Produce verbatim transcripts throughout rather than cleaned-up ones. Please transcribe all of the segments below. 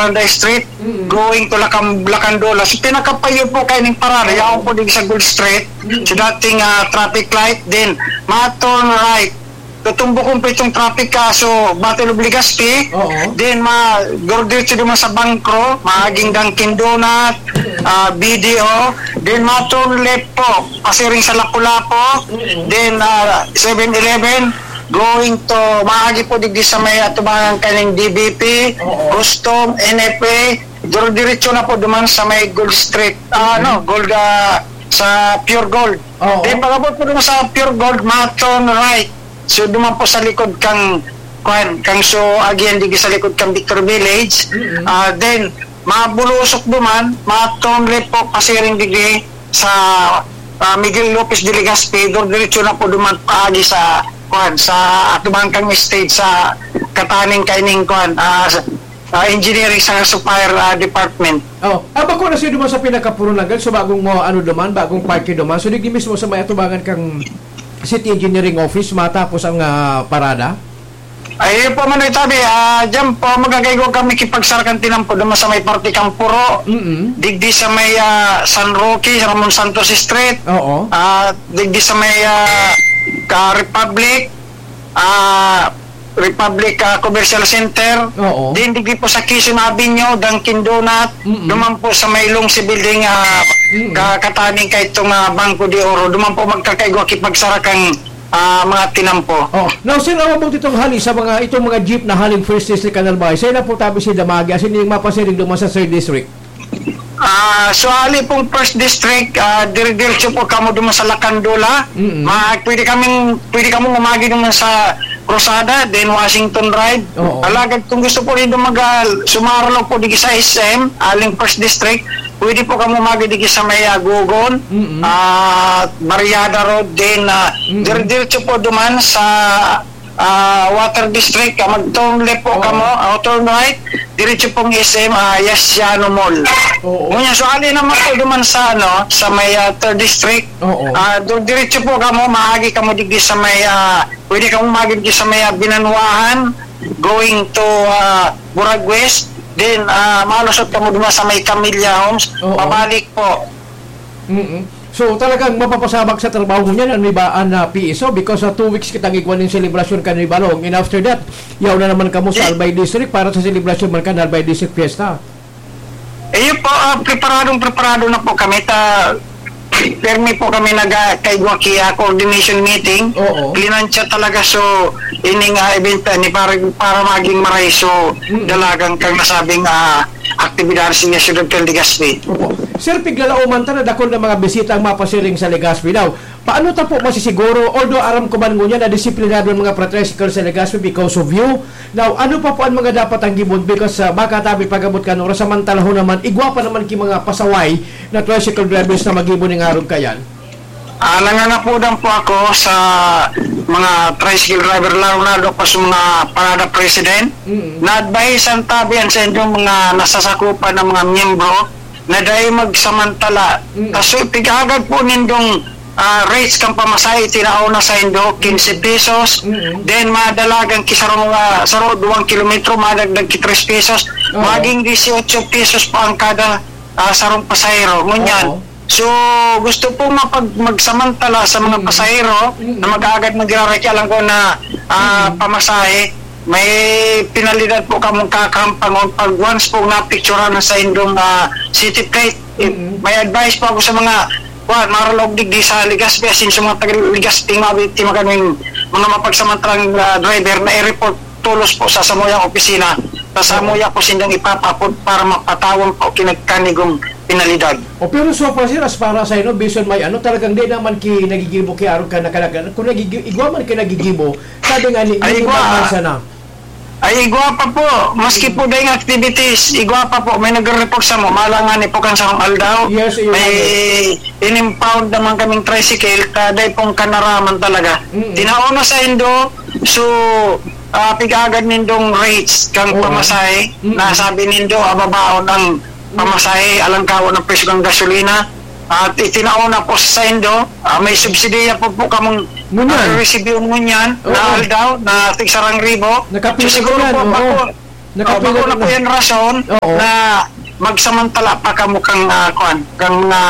Baranda Street, Mm. going to Lacan-, Lacandola. So, pinakapayo po kayo ning parada, yaon po din sa Gold Street, Mm. sa dating, ah, traffic light, then ma-turn right. Tutumbok po itong traffic kaso, Battle of Legazpi, Oo. then ma-, diretso naman sa Bangkro, maging Dunkin Donut, ah, B D O, then ma-turn left po, pasiring sa Lapu-Lapu, Mm. then, ah, seven eleven, going to, maagi po digdi sa may atubangan kaning D B P, Oo. Custom, N F A, dir-, diretso na po duman sa may Gold Street, ah, ano, Gold, ah, sa Pure Gold. Oo. Then pag-abot po duman sa Pure Gold, ma-turn right. So, duman po sa likod kang, kwan, kang so, again, digdi sa likod kang Victory Village. Mm-mm. Ah, then, mabulusok duman, ma-turn left po, pasiring digdi sa, ah, Miguel Lopez de Legazpi, diretso na po duman paagi sa, kwan, sa atubang kang stage sa kataning kaining, kwan, ah, sa, ah, engineering sa sa fire, ah, department. Oh, ah, bako na siya duman sa pinakapurunangan, so bagong mo, ano duman, bagong parke duman. So, digdi mismo sa may atubangan kang City Engineering Office, matapos ang, ah, parada? Ay, yun po man itabi, ah, diyan po, magkakaigo kami kipagsarakan tinampo duman sa may parte kang Puro. Mm-mm. Digdi sa may, ah, San Roque, sa Ramon Santos Street. Oo. Ah, digdi sa may, ah, ka Republic, ah, Republic, ah, Commercial Center. Oo. Din digdi po sa Quezon Avenue, Dunkin Donut. Mm-mm. Duman po sa may Longsi Building, ah, Mm-mm. ka-, kataning kay itong, ah, Banco de Oro. Duman po magkakaigo kipagsarakan ah, mga tinampo. Oh, now, sir, awa mo itong hali sa mga, itong mga jeep na haling First District kan Albay. Sa'yo na po tabi si Damagi, asin yung mapasiring duman sa Third District. Ah, so, hali pong First District, ah, dire-diretso po kamo duman sa Lacandola. Mm-mm. Ma-, pwede kaming, pwede kamong umagi duman sa Cruzada, then Washington Drive. Oo. Alagad kung gusto po rin dumagal, sumaralo po digi sa S M, aling First District, pwede po kamo umagi digi sa may Agogon, Mm-mm. ah, Barriada Road, then, ah, Mm-mm. dire-diretso po duman sa, ah, Water District, ah, mag-turn left po Oo. kamo, ah, turn right, diretso pong S M, ah, Yasiano Mall. Oo. Ngunyan, so, ali naman po duman sa, ano, sa may, ah, Third District. Oo. Ah, do-, diretso po kamo, maagi kamo digdi sa may, ah, pwede kamo maagi digdi sa may, ah, Binanwahan, going to, ah, Burag West, then, ah, malusot kamo duman sa may Camilla Homes, Oo. pabalik po. Mm-mm. So, talagang mapapasabak sa trabaho mo niyan, ano ba, an, ah, P S O? Because sa two weeks kitang igwa nin selebrasyon kan Ribalong. And after that, yaw na naman kamo sa Eh. Albay District para sa selebrasyon man kan Albay District Fiesta. Eh, yun po, ah, preparadong preparado na po kami. Ta, permi po kami nagkaigwa ki, ah, coordination meeting. Oo. Plinansya talaga, so, ining, ah, event, ah, ni para, para maging maray. So, Mm. dalagan kang nasabing, ah, aktibidad sa Siyudad kan Legazpi. Opo. Sir, piglalauman ta na dakul na mga bisita ang mapasiring sa Legazpi. Now, paano ta po masisiguro, although aram ko man ngunyan na disiplinado ang mga patricycle sa Legazpi because of you? Now, ano pa po ang mga dapat ang gibon? Because, ah, baka tabi pag-abot kan oras, samantalahon naman, igwa pa naman ki mga pasaway na tricycle drivers na magibo ning arog kayan. Ah, nangangapod lang po ako sa mga tricycle driver, lalo na do pa sa mga parada president. Mm. Na-advisean tabi an sa inyong mga nasasakupan ng mga miyembro na dai magsamantala. Mm. Kaso ipigagad po nindong, ah, rates kan pamasahe, tinao na sa indo, quince pesos. Mm. Then, madalagan ki sarong, ah, saro, duwang kilometro, madagdag ki tres pesos. Oo. Maging dieciocho pesos po ang kada, ah, sarong pasahero. Ngunyan, Oo. So, gusto po mapag-, magsamantala sa mga Mm. pasahero Mm. na mag-aagad magraraki, alam ko na, ah, Mm. pamasahe, may penalidad po kamong kakahampangon pag once po napicturan na sa indong, ah, city plate. Eh, Mm. may advice po ako sa mga, kuwan, maralog digdi sa Legazpi, asin sa mga taga Legazpi, mga biktima kaning mga mapagsamantalang, ah, driver na i-report tolos po sa samuyang opisina, sa Oo. samuya po sindang ipapaapod para mapatawan po kinagkanigong penalidad. O, pero so far, sir, as para sa ino, bison may ano, talagang di naman ki nagigibo ki arog ka na kanagan. Kung nagigi-, igwa man ki nagigibo, sabi nga ni, Ay, minimum igwa. man sana. Ay, igwa pa po. Maski Mm. po dahil activities, igwa pa po. May nagre-report sa mo, mala nga ni po kan sarong aldaw. Yes, iyo May nga. in-impound naman kaming tricycle, ta dahil pong kanaraman talaga. Mm. Tinaon na sa indo, so, ah, pig-agad nindong rates kang Oo. pamasahe, Mm. na sabi nindo, ababaon ang Mm. pamasahe, alangkawa ng presyo ng gasolina. At itinao na po sa indo, ah, may subsidiya po po kamong Ngunyan. nare-receive yung ngunyan, Oo. na aldaw, na tigsarang ribo. Nakapila So, siguro po yan, po, oo. bako, Oh, bako na po yan rason Oo. na magsamantala pa kamo kang, ah, kuwan, kang mga,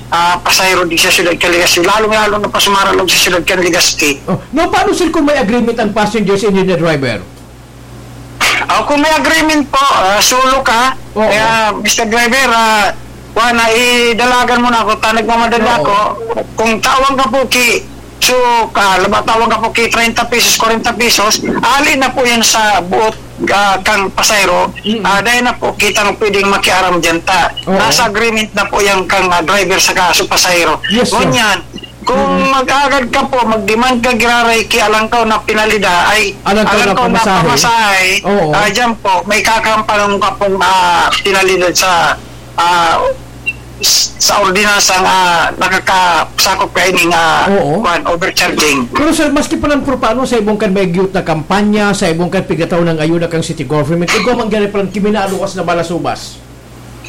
ah, pasahero di sa siyudad kan Legazpi, lalong-lalo na pa sumaralog sa siyudad kan Legazpi. Oh, no, paano, sir, kung may agreement ang passengers and the driver? Ah, kung may agreement po, ah, solo ka, Oo. kaya, Mister Driver, ah, kuwan na, idalagan mo na ako, ta nagmamadali Oo. ako. Kung tawan ka po ki, so, ka, laba, tawan ka po ki treinta pesos, kwarenta pesos, ali na po yan sa buot, ah, kang pasahero. Mm. Ah, dahil na po, kita mo pwedeng makiaram dyan ta. Oo. Nasa agreement na po yan kang, ah, driver sa kaso pasahero. Yes, sir. Ngunyan, kung Mm. mag-agad ka po, mag-demand ka giraray ki alangkaw na pinalida, ay, Alangkaw na alangkaw na pamasahe. pamasahe, Oo. ah, dyan po, may kakampanan ka pong, ah, pinalidad sa, ah, s-, sa ordinansa nga nakakasakop kaining, ah, Oo. kwan, overcharging. Pero, sir, maski pa lang, pero paano sa ibong kan may gyut na kampanya, sa ibong kan pigataw ng ayuda kang city government, igwa mangyari pa lang kiminaluwas na balasubas?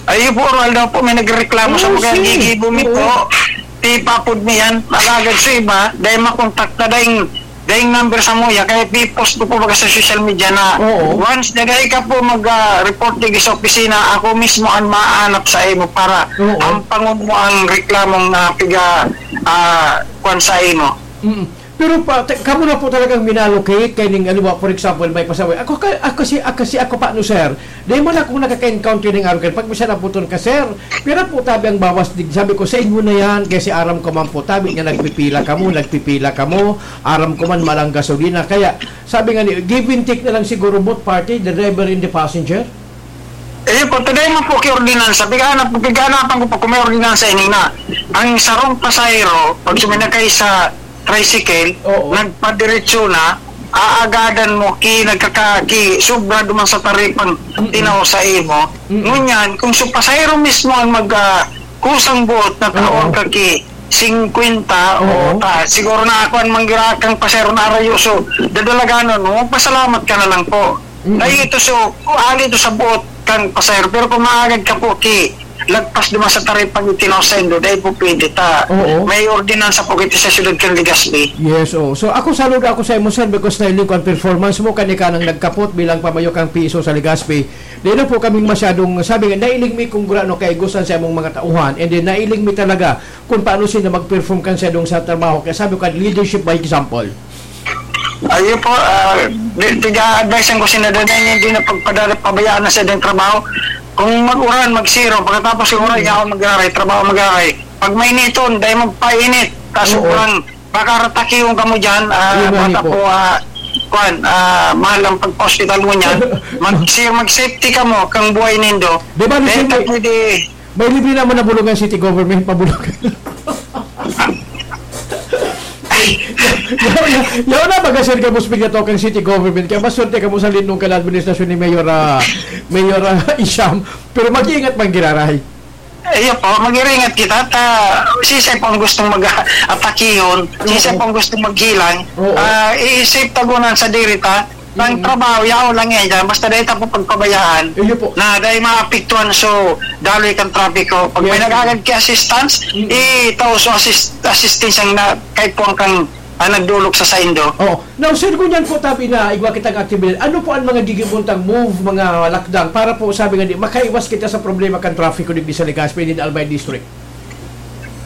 Ay, po, Roald daw po, may nagreklamo sa Oh, mga sige. gigibo mi Oo. po. Tipapod mi yan. Alagad sa iba, dahil makontak na dahil, dahil number sa muya, kaya pipost ko po baga sa social media na Oo. once na dahil ka po mag, ah, report digdi sa opisina, ako mismo ang maanap sa imo para Oo. ampangon mo ang reklamong, ah, piga, ah, kwan sa imo. Mm. Pero pa, te-, kamo na po talagang minalocate kay ning, halimbawa, for example, may pasaway. Ako ka, ako si, ako si, ako pa, no, sir. Di mo na kung nakaka-encounter ning araw kayo. Pag minsan naputon ka, sir, pira po tabi ang bawas, di, sabi ko, sa inyo na yan, kasi aram ko man po, tabi nga nagpipila kamo, nagpipila kamo, aram ko man, malang gasolina. Kaya, sabi nga ni, give and take na lang siguro both party, the driver and the passenger. Eh, po, today mo po ki ordinansa, pigana po, piganapan ko po kung may ordinansa ini na. Ang sarong pasahero, pag suminakay sa tricycle, Oo. nagpadiretso na, aagadan mo, ki, nagkaka-, ki, sobra duman sa taripang Mm-mm. tinaw sa imo. Mm-mm. Ngunyan, kung su pasahero mismo ang mag, ah, kusang buot na Oo. taon ka ki singkwenta o Oo. ta, siguro na ako ang manggirakang pasahero na arayoso, dadalaganon mo, magpasalamat ka na lang po. Mm. Ay, ito so, ali ito sa buot kang pasahero. Pero kung maagad ka po, ki, lagpas duman sa taripang itinaw sa indo, dahil po pwede ta. Oo. May ordinansa po kita sa siyudad kan Legazpi. Yes, oo. So, ako, saludo ako sa imo, sir, because nailing ko ang performance mo, kani ka nang nagkapot bilang pamayo kang P S O sa Legazpi. Di na po kaming masyadong, sabi nga, nailing mi kung gurano kaigosan sa imong mga tauhan, and then nailing mi talaga kung paano sila mag-perform kan sa idong sa trabaho. Kaya sabi ko, leadership by example. Ayun po, ah, di, tiga-advise ko sila doon, hindi na pagpadala, pabayaan na sa idong trabaho. Kung mag-uran, magsiro, pagkatapos ng uran, Mm. yaon mag-aray, trabaho mag-aray. Pag mainiton, dahil magpainit, tas Oo. sobrang, baka ratakiyon ka mo dyan, ah, Yun nga baka ni po. po, ah, kwan, ah, mahal ang pagpa-hospital mo niyan. Mag-, mag-safety ka mo, kang buhay nindo. Di ba, Dahil Lucy, pag may, pwede, may libre naman na bulungan city government, pabulungan. Yaw, yaw, yaw na, baga, sir, ka mo speak na to kang city government. Kaya maswerte ka mo sa lindong ka na administrasyon ni Mayor, ah, Mayor, ah, Isham. Pero mag-iingat man giraray. Iyo po, mag-iingat kita. Ta, sisay po ang gustong mag-atakihon, sisay Oo. po ang gustong maghilang. Oo. Ah, i-safe tagunan sa diri ta. Ang Mm. trabaho, yaon lang yan dyan. Basta dahil tapo pagpabayaan Iyo po. na dahil maapektuhan so daloy kang trapiko. Pag may Yes. nag-agad ki assistance, Mm. itao so assist-, assistance ang na, kahit po ang kang, ah, nagdulok sa saindo. Oh, now, sir, ngunyan po, tabi na igwa kitang aktibidad. Ano po ang mga gigibuntang move, mga lakdang, para po, sabi nga di, makaiwas kita sa problema kan trafiko digdi sa Legazpi, in Albay District?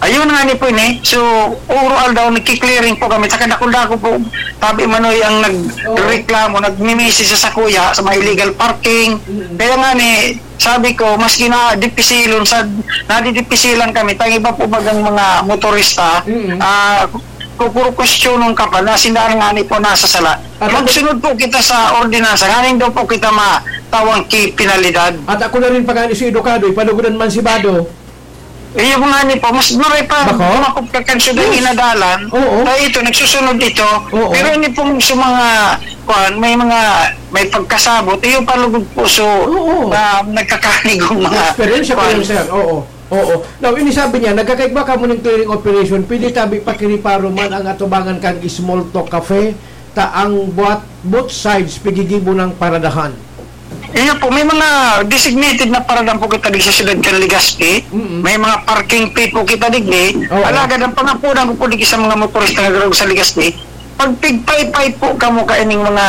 Ayun nga ni po ini. So, uro aldaw, nagki-clearing po kami. Saka dakul-dakul po, tabi manoy ang Oo. nagreklamo, nagmimisi sa sakuya, sa mga illegal parking. Mm. Kaya nga ni, sabi ko, maski na dipisilon, sa, nadidipisilan kami, tang iba po bagang mga motorista, Mm. ah, kukurukwestiyonon ka pa na sila nga ni po nasa sala. At ako Magsunod po kita sa ordinansa, nganing daw po kita matawang ki penalidad. At ako na rin pangani si Edukado, ipalugudan man si Bado. Iyo nga ni po, mas maray pa, Bako? kumakop ka kan siyudad Yes. inadalan. Oo. Kaya ito, nagsusunod ito. Oo. Pero ini pong sa mga, kuwan, may mga, may pagkasabot, iyo palugod po, so, Oo. ah, nagkakanig ang mga, Experience ko kuwan. yun, sir. Oo. Oo. Now, ini sabi niya, nagkakaigwa ka mo ng clearing operation, pwede tabi pakiriparo man ang atubangan kang Small Talk Cafe, ta ang buhat, both sides, pigigibo ng paradahan. Iyo po, may mga designated na paradan po kita di sa siyudad kan Legazpi. Mm-mm. May mga parking fee po kita digdi. Oo. Alagad ang pangapunan ko po digdi sa mga motorista na garo sa Legazpi, pag pigpaypay po kamo kaining mga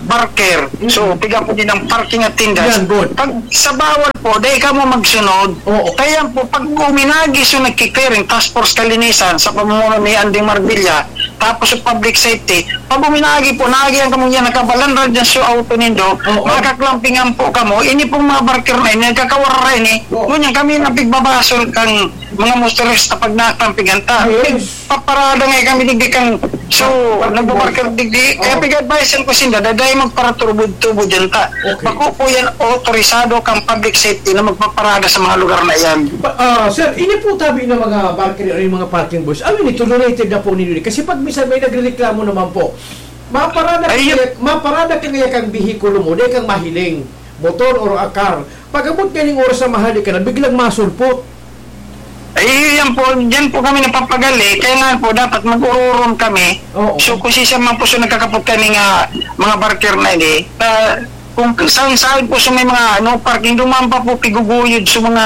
barker, Mm. so, piga po din ang parking attendance. Yan, good. Pag sa bawal po, dai kamo magsunod. Oo. Kaya po, pag uminagi, so nagki-clearing, task force kalinisan, sa pamumuno ni Anding Marbilla, tapos sa public safety, pag uminagi po, naagi ang kamong yan, nakabalanrad dyan sa auto nindo, Oo. makaklampingan po kamo, ini pong mga barker na ini, nagkakawara ini. Oo. Ngunyan, kami na pigbabasol kang mga motorista pag naklampingan ta. Yes. Paparada nga kami digdi kan, so, Ah, nagbabarkar digdi. Kaya Oo. pig-advise ko sinda, daday magparatubod-tubod yan ta. Okay. Bako po yan otorisado kang public safety na magpaparada sa mga lugar na yan. Pa-, ah, sir, ini po tabi ng mga barker, yung mga parking boys. Ano ini, tolerated na po ninyo? Kasi pag minsan may nagrereklamo naman po, maparada ka Ay, yun. kaya, maparada ka kaya kang bihikulo mo, di kang mahiling. Motor or a car. Pag-abot ka ning oras na mahali ka na, biglang masulpot. Ay, yan po, diyan po kami napapagali. Kaya nga po, dapat mag-ururon kami. Oo. So, kung sisya man po, so, nagkakapot kami nga mga barker na ini, ah, kung saan-saan po sa may mga, ano, parking, duman pa po, piguguyod sa mga,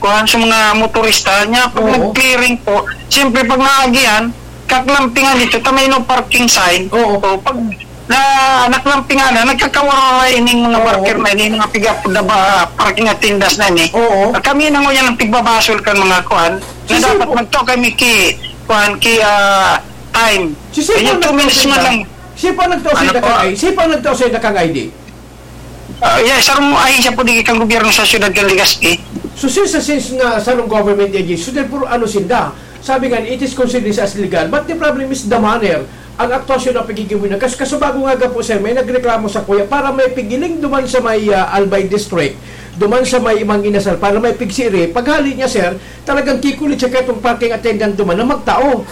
kuhan, sa mga motorista niya. Pag Oo. nag-clearing po, siyempre, pag naagihan, kaklampingan dito, ta may no parking sign. Oo. So, pag na naklampingan na, nagkakawara ining mga Oo. barker na ini, mga piga na ba, parking attendance na ini. Oo. Kami na ngunyan ang pigbabasol kan mga kuan, na Si Sir dapat po magtao kami ki, kuan, ki, ah, time. Si Sir Kaya po two minutes nagtao man sa lang. Sir po nagtao sa Ano po? Dakang I D. Sir po nagtao sa Dakang I D. Ah, yeah, sarong ahensya po di kan gobyerno sa siyudad kan Legazpi. So, since, since nga sarong government agency, so therefore, ano sinda? Sabi nga, it is considered as legal. But the problem is the manner. Ang aktuasyon na pagiging na. Kas-, kaso bago nga po, sir, may nagreklamo sa kuya para may pigiling duman sa may, ah, Albay District, duman sa may Mang Inasal, para may pigsiri. Paghali niya, sir, talagang kikulit siya kaitong parking attendant duman na magtao.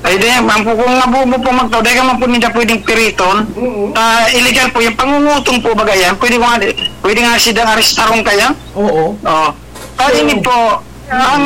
Ay, di, ang kung nga bubo po magtao, di ka man po nila pwedeng piriton. Oo. Ah, illegal po yung pangungutong po, baga yan. Pwede mo nga, pwede nga siya arestarong kaya? Oo. Oo. Ah, So, ini po, ang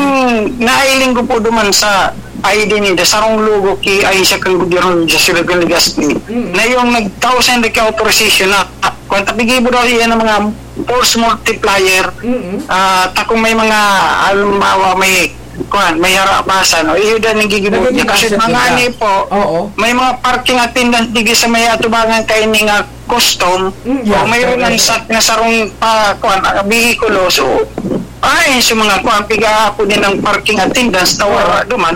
nailing ko po duman sa I D ninda, sarong logo ki, ay siya kang gobyerno sa Siyudad kan Legazpi, Mm. na yung nagtao sa hindi ka authorization na, kung tapigibo daw iyan ng mga force multiplier, Mm. ah, ta kung may mga, halimbawa, may, kuwan, may harapasan, o iyo din ang gigibot niya. Kasi Nagiging asset mga nila. ani po, Oo. may mga parking attendant digdi sa may atubangan kay ni nga custom, Mm, o yeah, mayroon correct. ng sa-, na sarong pa, kuwan, ah, bihikulo. So, ay, sa mga kuwan, piga po din ang parking attendance, tawara Oo. duman,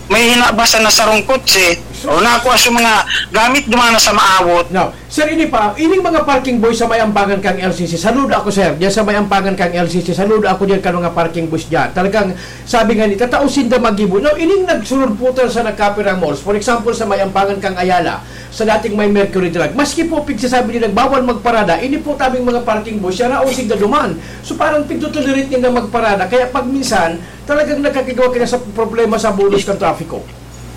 may hinabasa na sarong kotse, o nakuha sa mga gamit duman na sa maawot. No. Sir, ini pa, ining mga parking boy sa may ambangan kang L C C, saludo ako, sir. Diyan sa may ambangan kang L C C, saludo ako diyan kan mga parking boys diyan. Talagang, sabi nga ni, tatao sinda magibo. No, ining nagsulod putan sa nagkapirang malls. For example, sa may ambangan kang Ayala, sa dating may Mercury Drug. Maski po pigsasabi nila bawal magparada, ini po tabing mga parking boys, siya raon sinda duman. So, parang pigtotolerate nila magparada. Kaya pag minsan, talagang nagkakagawa kaya sa problema sa bulos ng trafiko.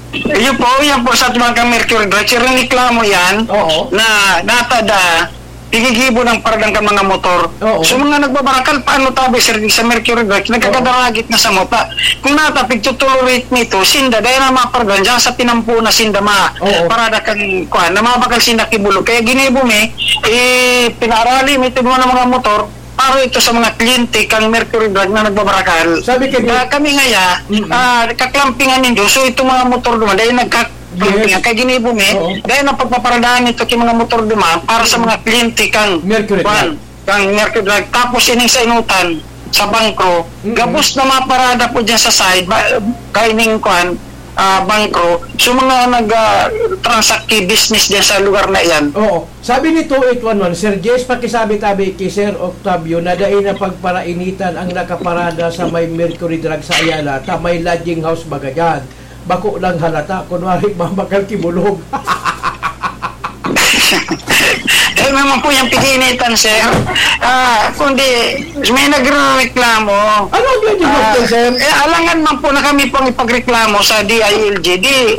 Iyo po, yan po sa ating mga Mercury Drug, si reklamo yan Oo. na natada, gigigibo ng parang ka mga motor. Oo. So, mga nagbabarakal, paano tabi, sir, sa Mercury Drug, nagkakadaragit na sa mota. Kung nata, pigtotolerate nito, sinda, dahil na mapardan, diyan sa tinampo na sinda ma-, Oo. parada kang, kuwan, na mabakal sinda kibulo. Kaya ginibo mi, eh, pinarali mi ito mga, mga motor, para ito sa mga kliyente kang Mercury Drug na nagbabarakal. Sabi kay Kaya kami ngaya, Mm. ah, kaklampingan nindo. So, itong mga motor duman, dahil nagkaklampingan, Yes. kaya ginibo mi, Oo. dahil ang pagpaparadahan nito kay mga motor duman, para sa Mm. mga kliyente kang, Mercury kuwan, Drug. kang Mercury Drug. Tapos ining sa inutan, sa bangkro, Mm. gabos na maparada po dyan sa side, ba, kaining kuwan, ah, bangkro. So, mga nag, ah, transact ki business dyan sa lugar na yan. Oo. Sabi ni two eight one one, "Sir Jess, pakisabi tabi ki Sir Octavio na dai na pagparainitan ang nakaparada sa may Mercury Drug sa Ayala, ta may lodging house baga diyan. Bako lang halata, kunwari mabakal ki bulog." Eh, naman po yung piginitan, sir. Ah, kundi may nagrereklamo. Ano ang lodging house Ah, dyan, sir? eh, alangan man po na kami pong ipagreklamo sa D I L G. Di,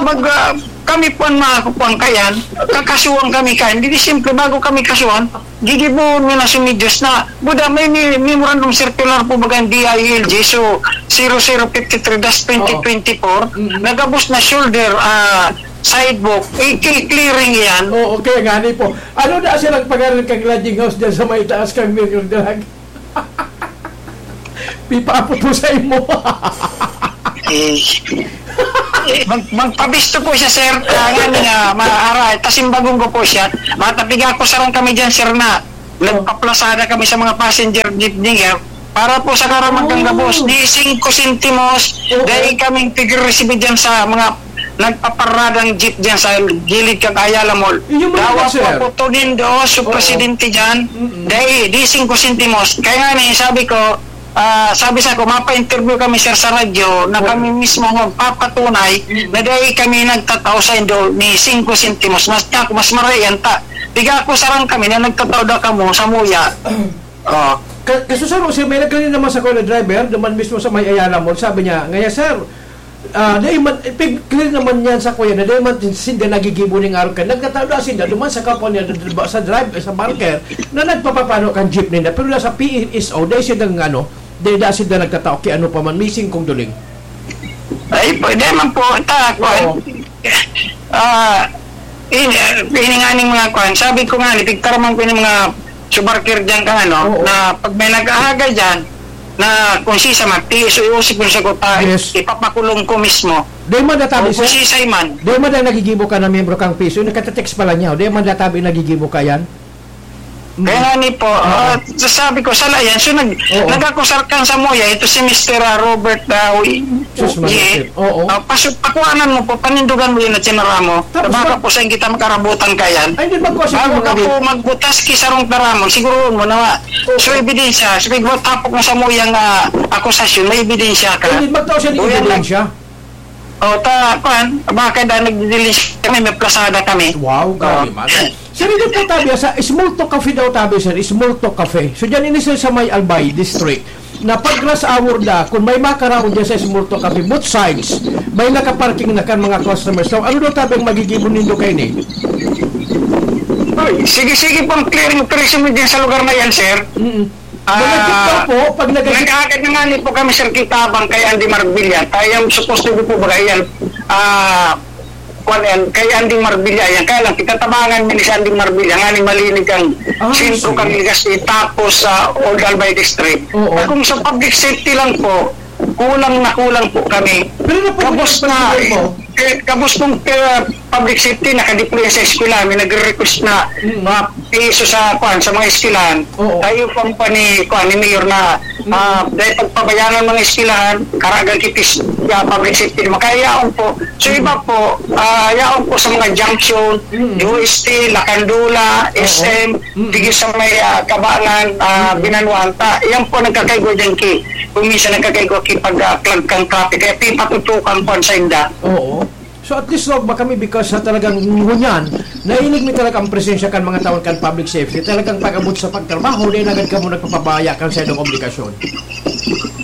mag, ah, kami po ang mga kukuan kayan, kakasuhan kami kayan. Di, di simple, bago kami kasuhan, gigibuhon mi na si Medyas na, buda, may mi-, memorandum circular po baga ang D I L G, so zero zero fifty-three dash twenty twenty-four, Oo. Mm-mm. nagabos na shoulder, ah, sidewalk, i-, i-clearing yan. Oo, kaya nga ni po. Ano na silang pangalan kang lodging house dyan sa may taas kang Miguel Drag? Pipaapot mo sa imo. Eh, Mag-, magpabisto po siya, sir. Ah, nga nga, maaray, ta simbagon ko po siya. Matapiga ko sarang kami dyan, sir, na nagpaplasada kami sa mga passenger jeepney, ah. Para po sa karamang Oh. gabos, ni singko sentimos, Oo. dahil kaming tigre-resibi dyan sa mga nagpaparadang jeep dyan sa gilid kang Ayala Mall. Yun yung mga Dawa sir. po po to nindo, su Oo. presidente dyan. Mm-mm. Dahil, di singko sentimos. Kaya nga ni, sabi ko, ah, sabi sa ko, mapa-interview kami, sir, sa radyo na Oo. kami mismo ang magpapatunay Mm. na dahil kami nagtatao sa indo ni singko sentimos. Mas, mas maray yan ta. Piga ako sarang kami na nagtatao daw kamo sa muya. Oh. Ka-, kaso, sir, sir, may nagkali naman sa kuya na driver, naman mismo sa may Ayala Mall. Sabi niya, ngaya, sir, ah, dahil man, eh, pig-, clear naman yan sa kuya na dahil man tin-, sinda nagigibo ning araw ka. Nagtatao daw sinda, duman sa kapwa niya, d-, d-, sa drive, sa barker, na nagpapapano kan jeep nila. Pero nasa P S O, dahil sinda ng ano, dahil dahil sinda nagtatao, kaya ano pa man, missing kong duling. Ay, pwede man po, ta, kuwan. Oo. Ah, ini, ini nga ning mga kuwan. Sabi ko nga, nipigtaraman ko yung mga subarker dyan ka, ano, Oo. na pag may nag-aagay dyan, na kung sisa man, P S O, iusip ko sa kota, Yes. ipapakulong ko mismo. Di man databi, O kung sir? sisay man. Di man na nagigibo ka na miyembro kang P S O, nakatetext pala niya. Di man databi nagigibo ka yan? Mm. Kaya nga ni po, Oo. ah, sabi ko, sala yan. So, nag-, Oo. nag-akusar kan sa muya, ito si Mister ah, Robert, ah, Uy-, Sus, Uye. Maria. Oo. Ah, pasu-, pakuhanan mo po, panindugan mo yun at sinara mo. Tapos Baka mag- po sa kita makarabutan ka yan. Ay, di ba po, sige, Bago mga ka di- po magbutas ki sarong taramon, siguruhon mo na nga. Oo. So, ebidensya, sabi ko, tapok mo sa muyang ah, akusasyon, may ebidensya ka. Ay, di ba, tao siya ni Uy, ang ebidensya? O, ta, kuwan, baka dahil nagdidilis kami, may plasada kami. Wow, grabe Oo. man. Sir, ito po tabi, sa Small Talk Cafe daw tabi, sir, Small Talk Cafe. So, dyan ini, sir, sa may Albay District. Na pag rush hour da, kung may makaraon dyan sa Small Talk Cafe, both sides, may nakaparking na kan mga customers. So, ano daw tabi ang magigibo nindo kaini? Uy, sige-sige pong clearing operation mo dyan sa lugar na yan, sir. Mm-mm. Ah, Pag nag-, po, pag nag- nag-aagad na nga ni po kami, Sir, kitabang kay Andy Marbilla. Kaya yung supposed to be po ba yan? Ah, kuwan yan, kay Andy Marbilla yan. Kaya lang, kitatabangan mi ni si Andy Marbilla. Nga ni malinig ang Ah, sentro sige. kang Legazpi, tapos sa Old Albay District. Oo. At kung sa public safety lang po, kulang na kulang po kami. Pero napupunta Tapos yung na, presidente mo? eh, tapos kung, eh, public safety, nakadeploy sa eskwela, may nagre-request na Mm. mga piso sa, kuwan, sa mga eskwelahan. Oo. Tayo pang pa ni, kuwan, ni Mayor na, Mm. ah, dahil pagpabayaan ng mga eskwelahan, karagan kitis, ya, public safety naman. Kaya yaon po. So, Mm. iba po, ah, yaon po sa mga junction, Mm. U S T, Lakandula, Oo. S M, Mm. digdi sa may, ah, Kabangan, ah, Mm. Binanuan. Ta, yan po nagkakaigwa dyan ki, kung minsan nagkakaigwa ki pag, ah, clog kang traffic. Kaya pipatutukan po ang sa inda. Oo. So, at least, wag ba kami, because sa talagang ngunyan, nailig mi talaga ang presensya kan mga tao kan public safety. Talagang pag-abot sa pagtrabaho, di na agad kamo nagpapabaya kan sa inyong obligasyon.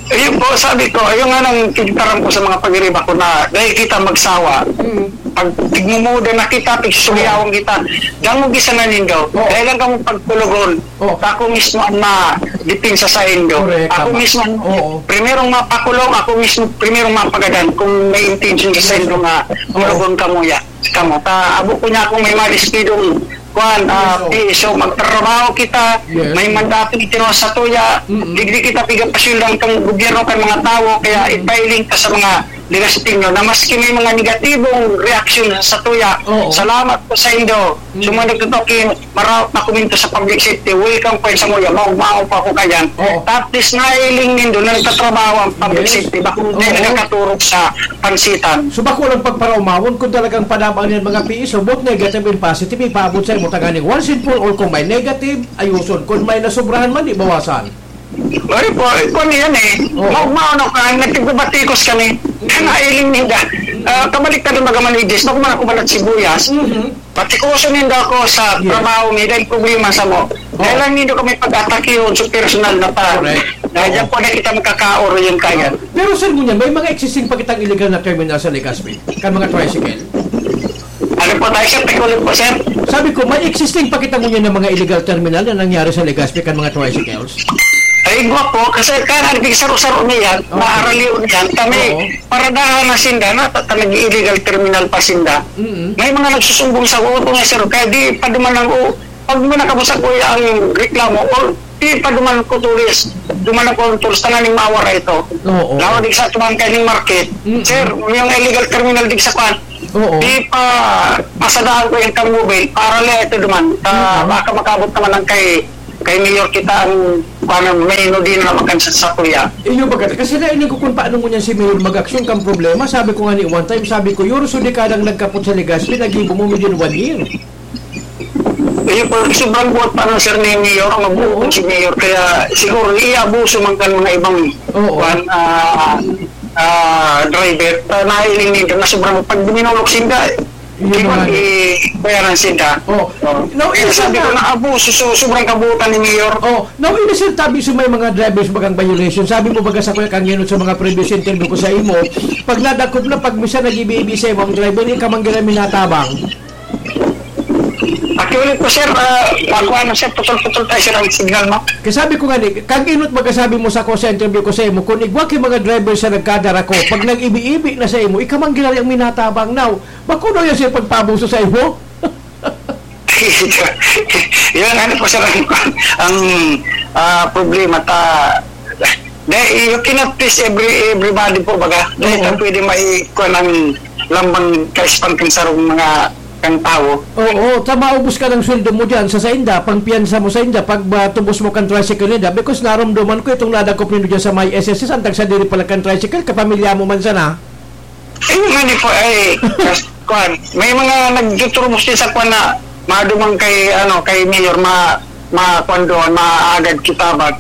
Ayun po, sabi ko, ayun nga nang kinitaran ko sa mga pagiriba ko na dahil kita magsawa, Mm. pag tigmumuda na kita, pigsusuyawan kita, dangog isa na nindo. Oo. Dahil lang kamo pagkulugon, Oo. Ako mismo ang madepensa sa indo. Correct, Ako tama. mismo ang Oo. primerong mapakulong, ako mismo primerong mapagadan kung may intention sa sa indo nga Oo. mulugon kamo ya. Kamo. Ta, abo ko niya kung may malispidong kuan, ah, Yes, oo. P S O, magtrabaho kita, Yes. may mandato itinao sa tuya, Mm-mm. digdi kita pigapasweldo ang gobyerno kan mga tawo, kaya Mm-mm. ipailing ta sa mga Legazpeño na maski may mga negatibong reaksyon sa tuya, Oo. salamat po sa indo. Mm. Sumundog ko to, kin-, maraot na komento sa public safety. Welcome po sa muya. Maugmaon po ako kayan. Oo. Tapos nailing nindo na nagtatrabaho ang public Yes. safety. Bakit hindi Oo. nakakaturog sa pansitan? So, bako lang pagparaumawon kung talagang panabang niyan mga P S O, both negative and positive, ipaabot sa imo tanganing once and for all. Kung may negative, ayuson. Kung may nasobrahan man, di bawasan. Ay po, ay po niyan eh. Oo. Maugmaon ako, ang nagtigbabatikos kami. Nailing ninda. Ah, kabalik ka doon, magaman ni Jess, nakuman ako balat sibuyas. Mhm. Patikoson ninda ako sa Yes. trabaho mi, dahil problema sa mo. Oo. Dahil lang nindo kami pag-atakihon sa personal na pa. Correct. Dahil Oo. dyan po na kita magkakaoro yung kaya. Pero sir, ngunyan, may mga existing pa kitang illegal na terminal sa Legazpi, kan mga tricycle? Ano po tayo, sir? Teka ulit po, sir. Sabi ko, may existing pa kita ngunyan ng mga illegal terminal na nangyari sa Legazpi kan mga tricycles? Ay, igwa po. Kasi kaya nga, nagsaro-saro niyan, Okay. maaraliw niyan. Kami, Oo. paradahan na sinda, na ta-, ta-, nag-illegal terminal pa sinda. Mm-mm. May mga nagsusumbong sa uto nga, sir, kaya di pa duman ang u-, pag mo nakabusag ko ang reklamo, or Di pa duman ko tulis. Duman ako ang tulis, tanganing mawara ito. Oo. Lawan di sa tumangkay ning market. Mm-mm. Sir, yung illegal terminal di sa kwan. Oo. Di pa masadaan ko yung kang mobile. Para le ito duman. Ah, Mm-mm. baka makabot naman ang kay, kay Mayor kita ang, kwan, ang may inudin na makan sa, sa kuya. Iyo, baga, kasi na ini ko kung paano mo niya si Mayor mag-aksyon kang problema. Sabi ko nga ni one time, sabi ko, "Yoro, so dekadang nagkapot sa Legazpi, nag-ibo mo within one year." Iyo po, sobrang buhat pa ng sir ni Mayor, ang mabuo Oo. si Mayor. Kaya siguro, iaabuso man kan mga ibang Oo. kwan, ah, ah, driver. Ta-, nailing nito na sobrang, pag minulok sinda, Yun di ba, nga. i-, bayaran sinda. Oh. Oh. No, Kaya isa sabi na. ko, naabuso, so, sobrang kabuutan ni Mayor. Oh, no, in the same tabi sa may mga drivers bagang violation. Sabi mo baga sa kuya kanino sa mga previous interview ko sa imo, pag nadakop na, pag misa nag-ibi-ibi sa imo ang driver, ikaw man gira minatabang. Pakiulit po, sir. Ah, bago ano, sir, putol-putol tayo, sir, ang signal mo. Kasabi ko nga ni, kag inot baga sabi mo sa ko sa interview ko sa imo, kung igwa kay mga driver sa nagkadara ko, pag nag-ibi-ibi na sa imo, ikaw man gira ang minatabang. Now, bako daw yan, sir, pagpabuso sa imo? Yun, ano po, sir, ang, ang, ah, problema, ta-, de, you cannot please every, everybody po, baga. Dahil Oo. ta pwede mai-, kuwan ang lambang kaispang kan sarong mga, kang tawo. Oo, ta maubos ka ng sweldo mo dyan sa sainda, pang piyansa mo sainda, pag, ah, tubos mo kan tricycle ninda, because naromdoman ko itong nadakop nindo dyan sa may S S S, ang tagsa diri pala kan tricycle, kapamilya mo man sana. Ayun nga ni po, ay, kas-, kuwan, may mga nagtuturubos din sa kuwan na madumang kay, ano, kay Mayor, ma-, ma-, kuwan doon, maagad kitabag.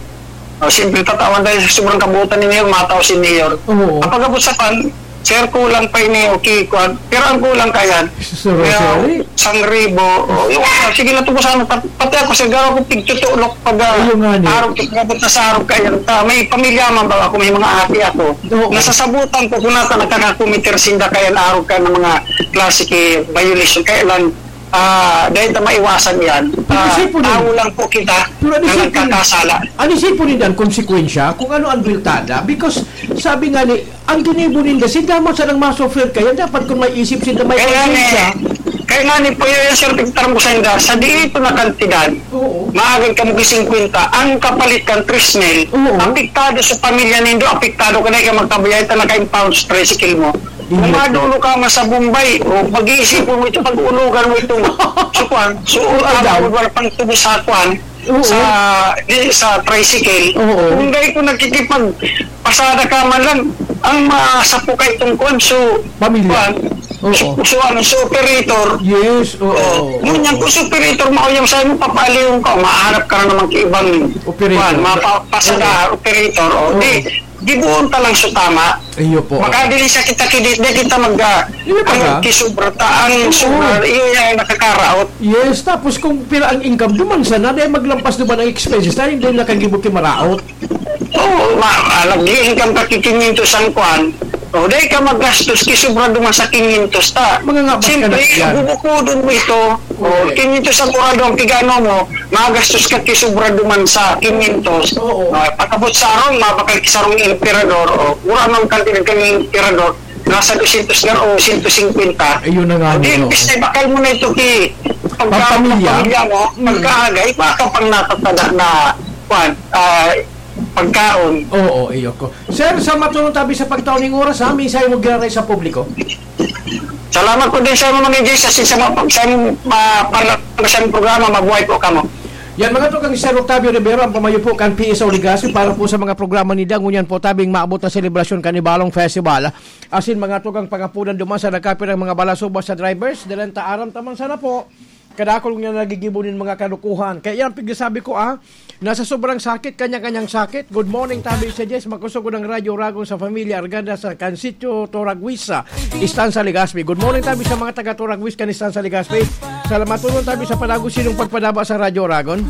O, siyempre, tatawan tayo sa sobrang kabuutan ni Mayor, matao si Mayor. Oo. Kapag abot sa kuwan, sir, kulang pa ini, okay, kuwan. Pero ang kulang kayan, Sorry, pero sorry. sang ribo, o, yung, ah, sige na, tubusan mo. Pat-, pati ako, sir, garo ko pigtutulok pag, ah, Ayun nga ni. araw, pag abot na sa araw kayan. Ta, may pamilya man ba ako, may mga ate ako. Oo. Nasasabutan ko kung nasa nakakakomiter sinda kaya na araw ka ng mga klase ki violation. Kaya lang, ah, dahil na maiwasan yan, Pero ah, isipon tao yun. lang po kita Pero na isipon, nagkakasala. ano isipon yun ang konsekwensya kung ano ang biltada? Because sabi nga ni, ang ginibo ninda, sinda mo silang masuffer kaya dapat kung may isip sinda may Kaya nga, konsensya. eh, kaya nga ni po yun, sir, pagtarong ko sa inda, sa di ito na kantidad, Oo. maagang kamo ki singkwenta, ang kapalit kan tres mil, Oo. apektado sa pamilya nindo, apektado ka na ikaw magkabiyay, ta naka-impound sa tricycle mo. Kung Iyo. madulo ka man sa Bombay, o pag-iisipon mo ito, pag-uulugan mo itong sukuan, so, Ay, ang daw. wala pang tubo sa kuan, Oo. sa, di, sa tricycle. Oo. Kung dahil kung nagkikipagpasada ka man lang, ang masapo ka itong kuan, so, Pamilya. kuan, Oo. so, so, ano, so operator. Yes, oo, Oh, oo, ngunyan oo. kung sa operator, mauyang sa'yo, papaliw ka, mahanap ka na naman kay ibang Operator. kuan, mapa-, pasada, Oo. operator, o, Oo. di, di buon ta lang sa tama. Iyo po. Baka dili siya kita kini-, di kita mag, ah, Iyo po ang ba? kisubra ta, ang Oo. subra, iyo yan ang nakakaraot. Yes, tapos kung pira ang income, duman sana, dahil maglampas duman ang expenses, dahil hindi nakagibo ki maraot. Oo, ma-, ah, nag-i-income ka ki kinyentos ang kwan. O, dahil ka magastos, kisubra duman sa kinyentos ta. Mga nga, basta Siyempre, na yan. bubukudon mo ito. O, Correct. kinyentos ang kurado ang pigano mo, magastos ka kisubra duman sa kinyentos. Oo. Ah, pag-abot sa arong, mabakal ki sarong emperador, o, mura man kantidad kan emperador, nasa dosyentos na o sento singkwenta. Ayun na nga, O, di, no? imbis na ibakal mo na ito ki pagka-, Pampamilya? pamilya mo, Mm. pagkaagay, baka pang natatada na, kwan, ah, pagkaon. Oo, iyo ko. Sir, sa matulong tabi sa pagtaon ning oras, ha, may sayo mo giraray sa publiko. Salamat po din sa mga J S, sa, sa, sa, ma-, para sa programa, mabuhay po kamo. Yan, mga tugang, si Sir Octavio Rivero, ang pamayo po kan P S O Legazpi para po sa mga programa ni Dang. Ngunyan po, tabing maabot na selebrasyon kan Ibalong Festival. Asin mga tugang pangapunan duman sa nagkapirang mga balasoba sa drivers, dalan ta aram taman sana po. Kadakol nga nagigibo nin mga kalukuhan. Kaya yan, pigsasabi ko, ah, nasa sobrang sakit, kanya-kanyang sakit. Good morning, tabi sa Jess. Makusog ang Radyo Ragon sa Familia Arganda sa Kansitio, Toragwis, sa Istansa, Legazpi. Good morning, tabi sa mga taga Toragwis, kan Istansa, Legazpi. Salamat po, tabi sa panago sinong pagpadaba sa Radyo Ragon.